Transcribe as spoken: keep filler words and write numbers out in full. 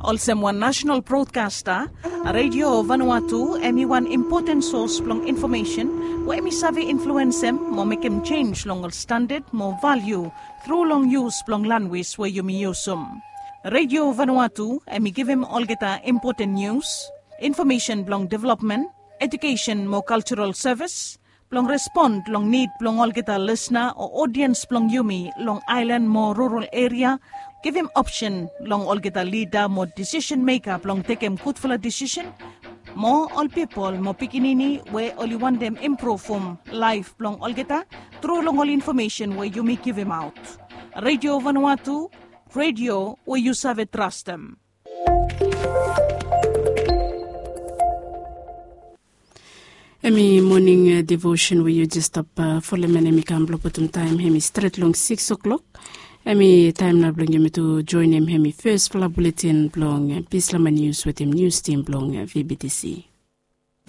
Olsem wan nasenal brodkasta, Radio Vanuatu em i wan impoten sos blong infomesen we em i save influensem mo mekem jenj long ol standad mo valiu tru long yus blong lanwis we yumi yusum. Radio Vanuatu em i givim olgeta impoten nius, infomesen blong developmen, ejukesen mo kaljaral sevis, blong respon long nid blong olgeta lisna o odiens blong yumi long aelan mo rural eria, givim opsen long olgeta lida mo disisen meka blong tekem gudfala disisen, mo ol pipol mo pikinini we oli wantem impruvum laef blong olgeta tru long ol infomesen we yumi givimaot. Radio Vanuatu, radio we yu save trastem. Em i moning devosen we yu jes stap folem, em i kam blong putum taem em i stret long sikis o'klok. Em i taem nao blong yumi tu joenem em i fesfala buletin blong bislama nius wetem nius tim blong VBTC.